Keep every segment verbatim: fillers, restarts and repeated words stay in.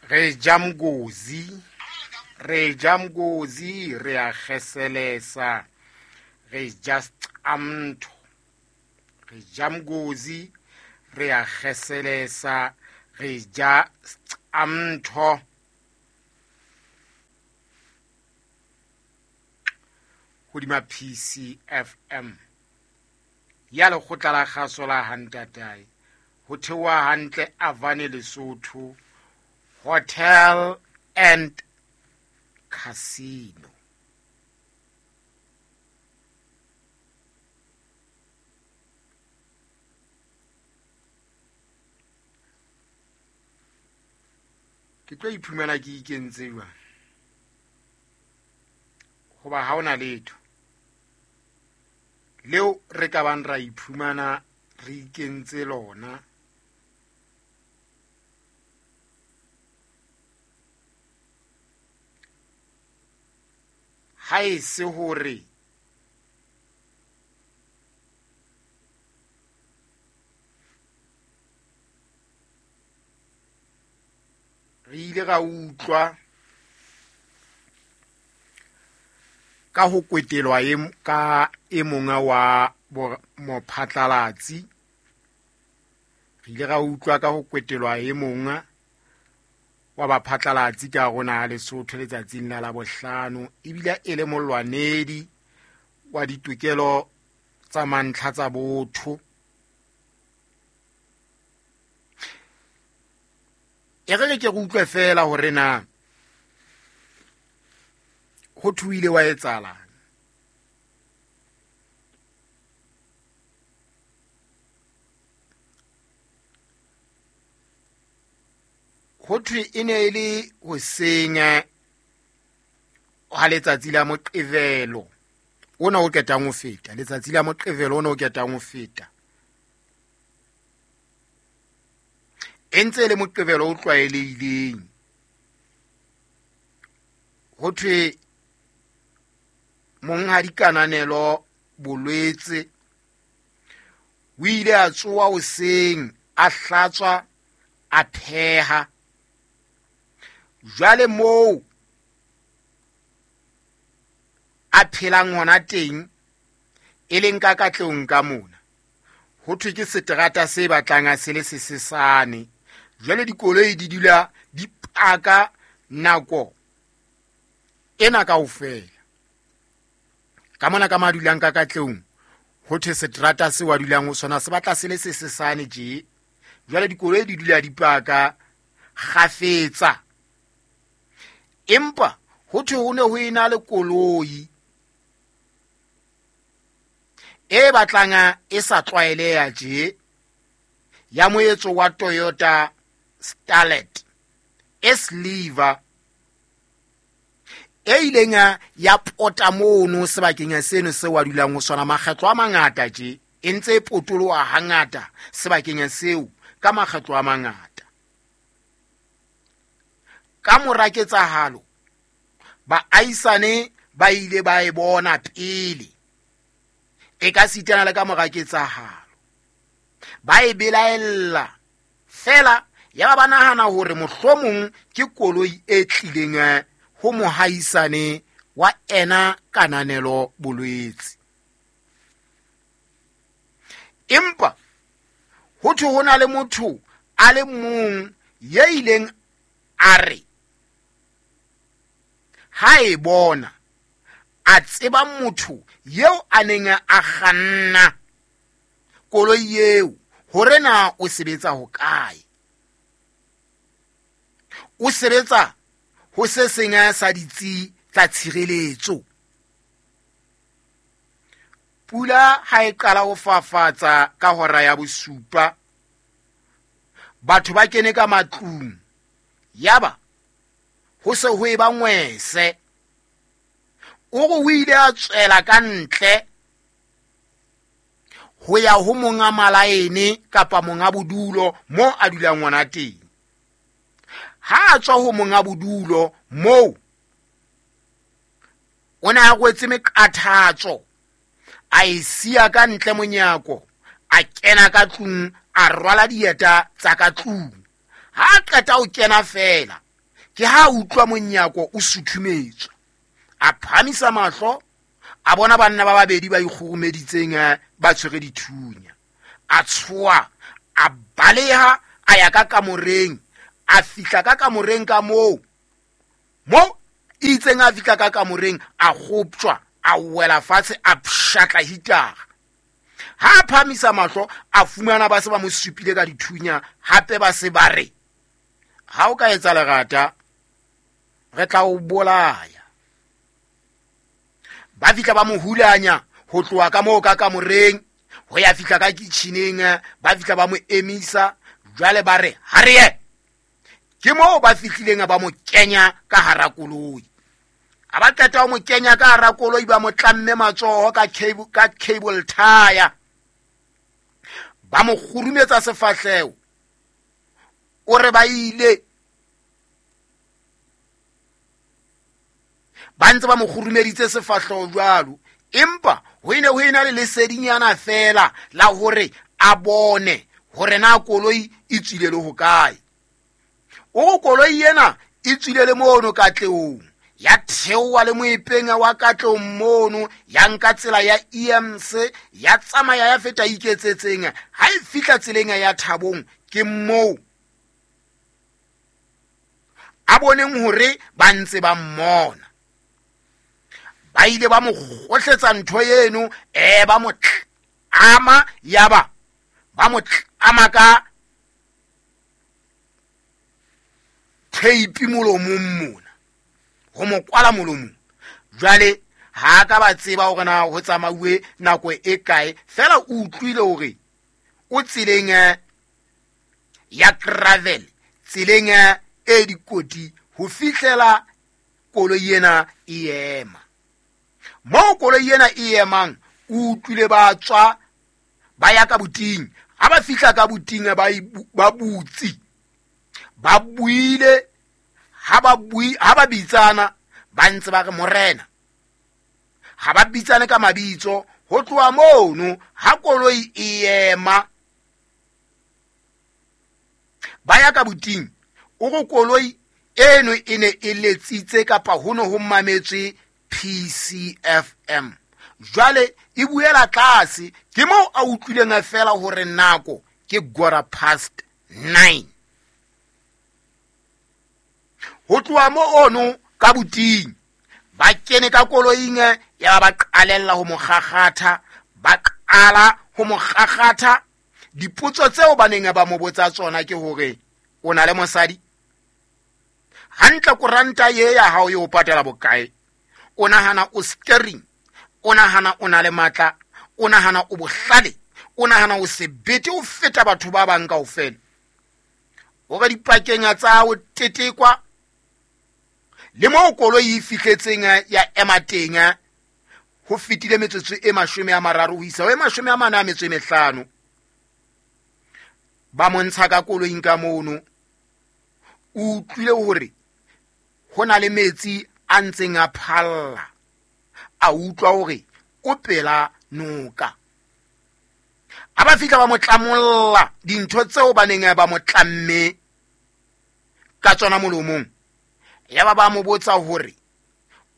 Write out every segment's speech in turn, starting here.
Re ja mgozi, re ja mgozi, re a kgeselesa, re ja seqamtho. Re ja mgozi, re a kgeselesa, re ja seqamtho. Hodima P C F M ya lekgotla la kgaso la Hantatae, ho theoha hantle Avane Lesotho Hotel and Casino. Ke tlo iphumana ke ikentse jwang? Hoba ha hona letho leo re ka bang ra iphumana re ikentse lona. Ha e se hore re ile ra utlwa ka ho kwetelwa e m-, ka e mong wa bo-, mophatlalatsi. Re ile ra utlwa ka ho kwetelwa e mong wa baphatlalatsi ka rona ha Lesotho letsatsing la Labohlano, ebile e le molwanedi wa ditokelo tsa mantlha tsa botho. E re ke re utlwe fela hore na ho thuile wa etsahalang. Ho thwe e ne e le hoseng ha letsatsi la Moqebelo ona o qetang ho feta, letsatsi la Moqebelo ona o qetang ho feta. E ntse e le Moqebelo o tlwaelehileng. Ho thwe monghadi Kananelo Bolwetse o ile a tsoha hoseng, a hlatswa, a pheha. Jwale moo a phelang hona teng, e leng ka Katlehong ka mona, ho thwe ke seterata se batlang a se le sesesane. Jwale dikoloi di dula di paka nako ena kaofela. Ka mona ka madulang ka Katlehong, ho thwe seterata se wa dulang ho sona se batla se le sesesane tje. Jwale dikoloi di dula di paka kgafetsa. Empa ho thwe ho ne ho ena le koloi e batlang e sa tlwaeleha tje, ya moetso wa Toyota Starlet e silver, e ileng ya pota mono sebakeng seno seo a dulang ho sona makgetlo a mangata tje, e ntse e potoloha hangata sebakeng seo ka makgetlo a mangata. Ka mora ketsahalo, baahisane ba ile ba e bona pele, e ka sitana le ka mora ketsahalo, ba e belaella fela, ya ba ba nahana hore mohlomong ke koloi e tlileng ho mohaisane wa ena Kananelo Bolwetse. Empa ho thwe ho na le motho a le mong ya ileng a re ha e bona a tseba motho eo a neng a kganna koloi eo hore na o sebetsa hokae. O sebetsa ho se seng sa ditsi tsa tshireletso. Pula ha e qala ho fafatsa ka hora ya bosupa, batho ba kene ka matlung, yaba ho se ho eba ngwese. O re o ile a tswela ka ntle ho ya ho monga malaene kapa monga bodulo mo a dulang ngwana teng. Ha a tswa ho monga bodulo moo, o ne a rwetse meqathatso, a e siya ka ntle monyako, a kena ka tlung, a rwala dieta tsa ka tlung. Ha a qeta ho kena fela, Ke ha utlwa monyako o suthumetswa, a phamisa mahlo, a bona banna ba babedi ba ikgurumeditseng ba tshwere dithunya. A tshoha, a baleha, a ya ka kamoreng, a fihla ka kamoreng ka moo. Mo itseng a fihla ka kamoreng, a kgoptjwa, a wela fatshe, a pshatla hitara. Ha a phamisa mahlo, a fumana ba se ba mo supile ka dithunya, hape ba se ba re, ha o ka etsa lerata, re tla o bolaya. Ba fihla ba mo hulanya ho tloha ka moo ka kamoreng ho ya fihla ka kitcheneng, ba fihla ba mo emisa, jwale ba re ha re ye. Ke moo ba fihlileng ba mo kenya ka hara koloi. Ha ba qeta ho mo kenya ka hara koloi, ba mo tlamme matsoho ka cable, ka cable tie. Ba mo kgurumetsa sefahleho. O re ba ile ba ntse ba mo kgurumeditse sefahleho jwalo, empa ho ene ho ena le lesedinyana fela la hore a bone hore na koloi e tswile le hokae. O koloi ena e tswile le mono Katlehong, ya theoha le moepeng wa Katlehong mono, ya nka tsela ya E M C, ya tsamaya ya feta Iketsetseng. Ha e fihla tseleng ya Thabong, ke moo a boneng hore ba ntse ba mmona. Ba ile ba mo kgohletsa ntho eno, eh ba mo tlama, yaba ba mo tlama ka tape molomong mona, ho mo kwala molomong. Jwale ha ka ba tseba hore na ho tsamauwe nako e kae, fela o utlwile hore o tseleng ya gravel, tseleng e dikoti, ho fihlela koloi ena e ema. Moo koloi ena e emang, o utlwile ba tswa ba ya ka buting. Ha ba fihla ka buting, ba ba butsi, ba buile. Ha ba bui, ha ba bitsana, ba ntse ba re morena. Ha ba bitsane ka mabitso. Ho tloha mono ha koloi e ema, ba ya ka buting. O re koloi eno e ne e letsitse kapa ho ne ho mametswe P C F M. Jwale e buela tlase, ke moo a utlwileng fela hore nako ke quarter past nine. Ho tloha mo ono ka buting, ba kene ka koloing, ya ba qalella ho mo kgakgatha, ba qala ho mo kgakgatha. Dipotso tseo ba neng ba mo botsa tsona ke hore o na le mosadi? Hantle koranta ye ya hao e o patela bokae? O nahana o steering? O nahana o na le matla? O nahana o bohlale? O nahana o sebete o feta batho ba bang kaofela? Hore dipakeng tsa ho tetekwa le moo koloi e fihletseng ya ema teng, ho fetile metsotso e mashome a mararo ho isa ho e mashome a mane a metso e mehlano. Ba mo ntsha ka koloing ka mono. O utlwile hore ho na le metsi a ntseng a phalla. A utlwa hore o pela noka. Ha ba fihla ba mo tlamolla dintho tseo ba neng ba mo tlamme ka tsona molomong. Yaba ba mo botsa hore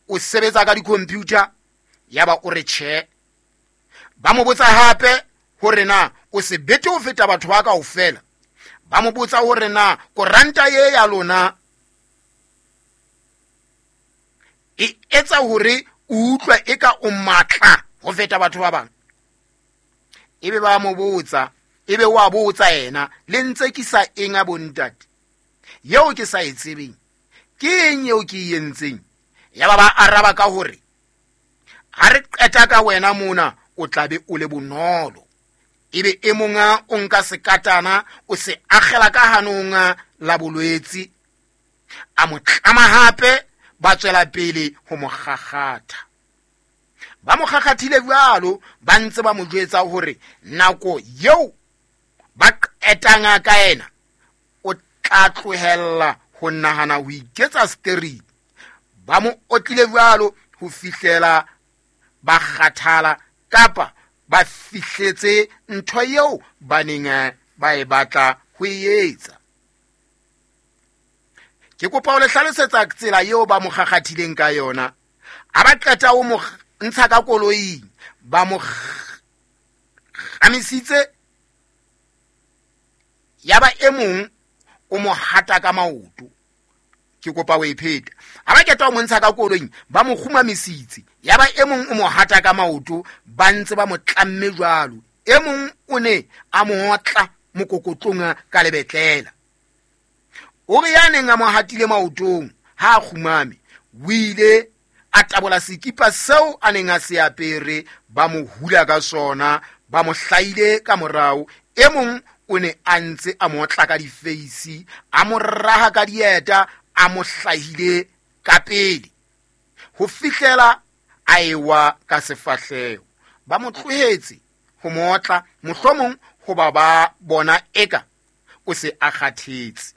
o sebetsa ka di-computer, yaba o re tjhe. Ba mo botsa hape hore na o sebete ho feta batho ba kaofela. Ba mo botsa hore na koranta ye ya lona e etsa hore o utlwe eka o matla ho feta batho ba bang. Ebe ba mo botsa, ebe wa botsa yena, le ntse ke sa eng a bontate yeo ke sa e tsebeng, ke eng eo ke e entseng? Yaba ba araba ka hore ha re qeta ka wena mona o tla be o le bonolo. Ebe e monga o nka sekatana o se akgela ka hanong la bolwetsi, a mo tlama hape, ba tswela pele ho mo kgakgatha. Ba mo kgakgathile jwalo, ba ntse ba mo jwetsa hore nako eo ba qetang ka yena o tla tlohella ho nahana ho iketsa steering. Ba mo otlile jwalo ho fihlela ba kgathala kapa ba fihletse ntho eo ba neng ba e batla ho e etsa. Ke kopa ho le hlalosetsa tsela eo ba mo kgakgathileng ka yona. Ha ba qeta ho mo ntsha ka koloing, ba mo kgamisitse, ya ba e mong o mo hata ka maoto. Ke kopa ho e pheta. Ha ba qeta ho mo ntsha ka koloing, ba mo kgumamisitse, ya ba e mong o mo hata ka maoto, ba ntse ba mo tlamme jwalo. E mong o ne a mo otla mokokotlong ka lebetlela. O re ya neng a mo hatile maotong ha a kgumame, o ile a tabola sekipa seo a neng a se apere, ba mo hula ka sona, ba mo hlaile ka morao. E mong o ne a ntse a mo otla ka difeisi, a mo raha ka dieta, a mo hlahile ka pele ho fihlela a ewa ka sefahleho. Ba mo tlohetse ho mo otla, mohlomong hoba ba bona eka o se a kgathetse.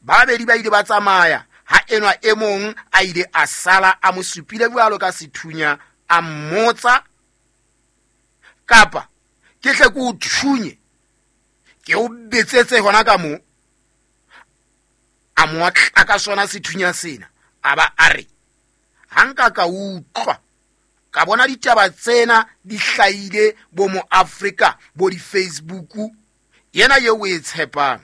Ba babedi ba ile ba tsamaya, ha enwa e mong a ile a sala a mo supile jwalo ka sethunya, a mmotsa, kapa ke tle ke o thunye, ke o betsetse hona ka moo. A mo otla ka sona sethunya sena, a ba a re, ha nka ka utlwa ka bona ditaba tsena di hlahile bo mo Afrika, bo di-Facebook, yena eo o e tshepang,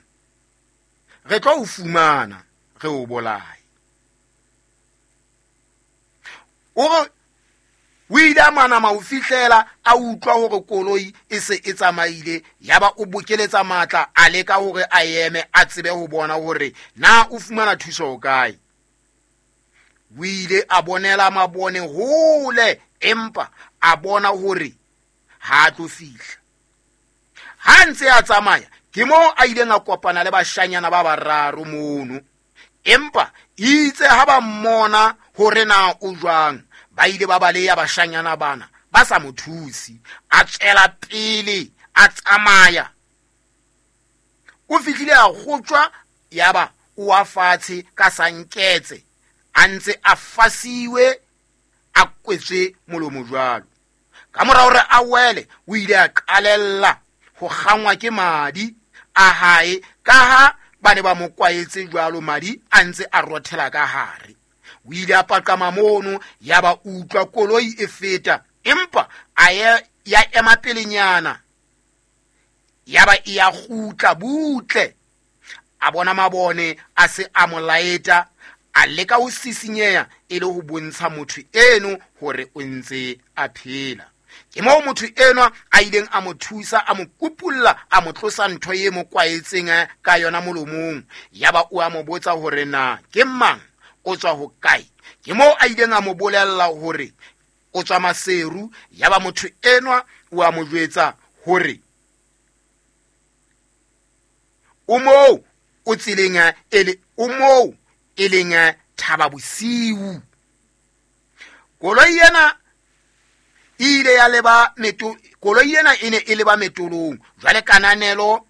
re tlo o fumana, re o bolaye. O re o ile a manama ho fihlela a utlwa hore koloi e se e tsamaile, ya ba o bokeletsa matla, a leka hore a eme a tsebe ho bona hore na o fumana thuso ho kae. O ile a bonela mabone hole, empa a bona hore ha a tlo fihla. Ha ntse a tsamaya, ke moo a ileng a kopana le bashanyana ba bararo mono, empa itse ha ba mmona hore na o jwang, ba ile ba baleha bashanyana bana ba sa mo thuse. A tswela pele a tsamaya, o fihlile a kgotjwa, ya ba o wa fatshe ka sanketse, a ntse a fasiwe, a kwetswe molomo jwalo. Ka mora hore a wele, o ile a qalella ho kgangwa ke madi a hae, ka ha ba ne ba mo kwaetse jwalo, madi a ntse a rothela ka hare. O ile a paqama mono, ya ba utlwa koloi e feta, empa a ya, ya ema pelenyana, ya ba e ya kgutla butle. A bona mabone a se a mo laeta, a leka ho sisinyeha e le ho bontsha motho eno hore o ntse a phela. Ke moo motho enwa a ileng a mo thusa, a mo kupulla, a mo tlosa ntho e mo kwaetseng ka yona molomong. Ya ba o a mo botsa hore na ke mang, o tswa ho kae. Ke moo a ileng a mo bolella hore o tswa Maseru. Ya ba motho enwa o a mo jwetsa hore o moo o tseleng ele, o moo e leng Thaba Bosiu. Koloi ena e ile ya leba meto, koloi ena e ne e leba metolong. Jwale Kananelo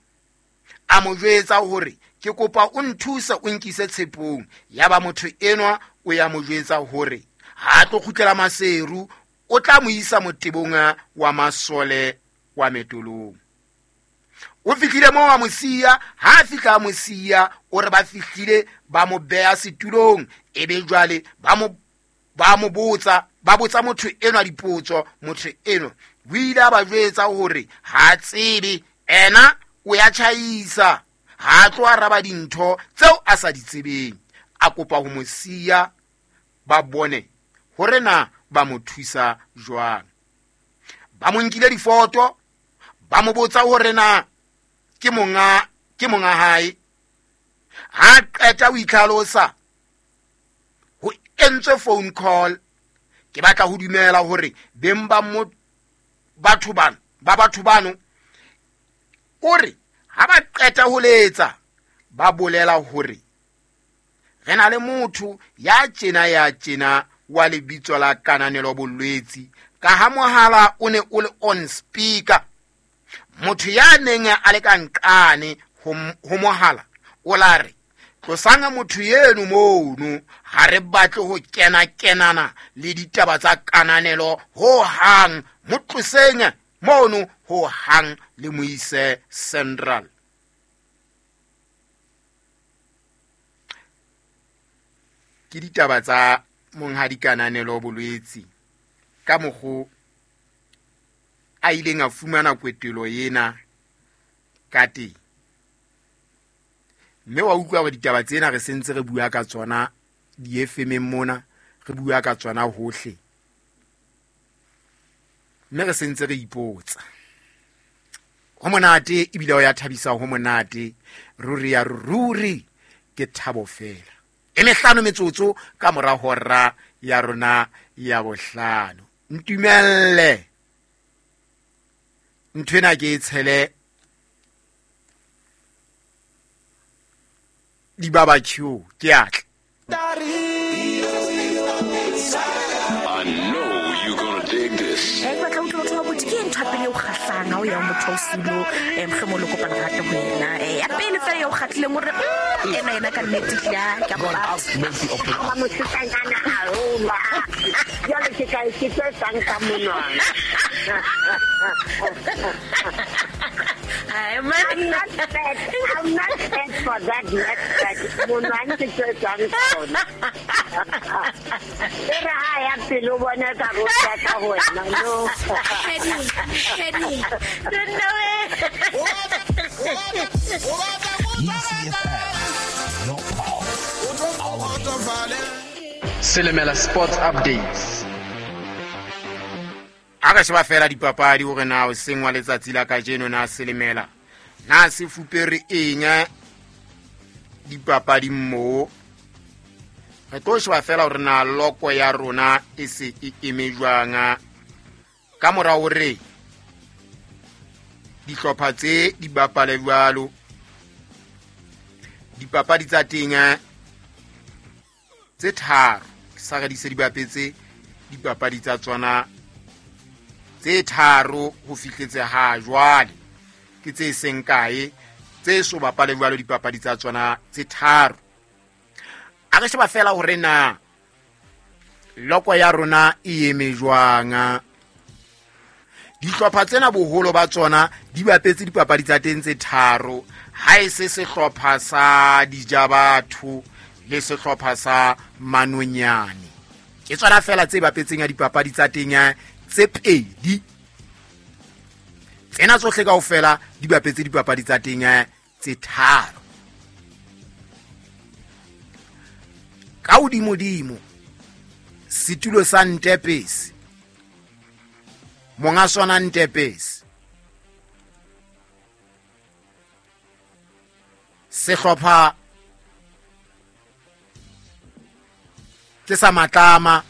a mo jwetsa hore ke kopa o nthuse o nkise tshepong. Ya ba motho enwa o ya mo jwetsa hore ha tlo kgutlela Maseru, o tla mo isa motebong wa masole wa metolong. O fihlile moo a mo siya, ha a fihla a mo siya, o re ba fihlile ba mo beha setulong, ebe jwale ba mo, ba mo botsa, ba botsa motho enwa dipotso. Motho enwa o ile a ba jwetsa hore ha a tsebe, ena o ya tjhaisa, ha a tlo araba dintho tseo a sa di tsebeng. A kopa ho mo siya ba bone hore na ba mo thusa jwang. Ba mo nkile difoto, ba mo botsa hore na ke monga, ke monga hae. Ha qeta ho itlhalosa, ho entswe phone call. Ke batla ho dumela hore beng ba mo, batho bano, ba batho bano, o re ha ba qeta ho letsa, ba bolela hore re na le motho ya tjena ya tjena wa lebitso la Kananelo Bolwetsi, ka ha mohala o ne o le on speaker. Motho ya neng a le ka nqane ho, ho mohala o la re, tlosang motho eno mono, ha re batle ho kena kenana le ditaba tsa Kananelo ho hang, mo tloseng mono ho hang le mo ise Central. Ke ditaba tsa monghadi Kananelo Bolwetse ka mokgo a ileng a fumana kwetelo ena ka teng. Mme wa utlwa hore ditaba tsena re sentse re bua ka tsona di-F M mona, re bua ka tsona hohle. Mme re sentse re ipotsa. Ho monate ebile ho ya thabisa, ho monate. Ruri ya ruri ke thabo fela. E mehlano metsotso ka mora hora ya rona ya bohlano. Ntumelle nthwena ke e tshele di barbecue ke atla. I know you're gonna dig this. Eh batla utlwa batho ba botse ke ntho ya pele o kgahlang ha o ya motho o silo eh mohlomong le kopana rata ho yena eh ya pele fela ya o kgatlileng hore ena yena ka nnete hle ke a batla mosetsanyana haholo jwale ke ka ke tse tsang ka monwana. I'm not fat. I'm not fat for that next fat. Monwana ke tse tsang tsona. E re ha ya pele o bona ka ro ka ho wena no. Hedi. No way. Selemela Sports Updates. A re sheba fela dipapadi hore na o sengwa letsatsi la kajeno na Selemela na se fupere eng dipapadi mo. Re tlo sheba fela hore na loko ya rona e se e eme jwang ka mora hore dihlopha tse di bapale jwalo. Dipapadi tsa teng tse tharo sa re di se di bapetse dipapadi tsa tsona tse tharo ho fihletse ha jwale ke tse seng kae tse so bapale jwalo dipapadi tsa tsona tse tharo. A re sheba fela hore na loko ya rona e eme jwang. Dihlopha tsena boholo ba tsona di bapetse dipapadi tsa teng tse tharo, ha e se sehlopha sa Dijabatho le sehlopha sa Manonyane. Ke tsona fela tse bapetseng ya dipapadi tsa teng tse pedi. Tsena tsohle kaofela di bapetse dipapadi tsa teng tse tharo. Ka hodimodimo setulo sa Ntepesi, monga sona Ntepesi, sehlopha ke sa Matlama,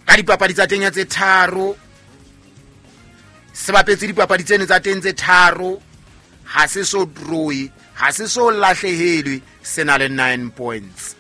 ka dipapadi tsa teng tse tharo se bapetse dipapadi tseno tsa teng tse tharo, ha se so draw, ha se so lahlehelwe, se na le nine points.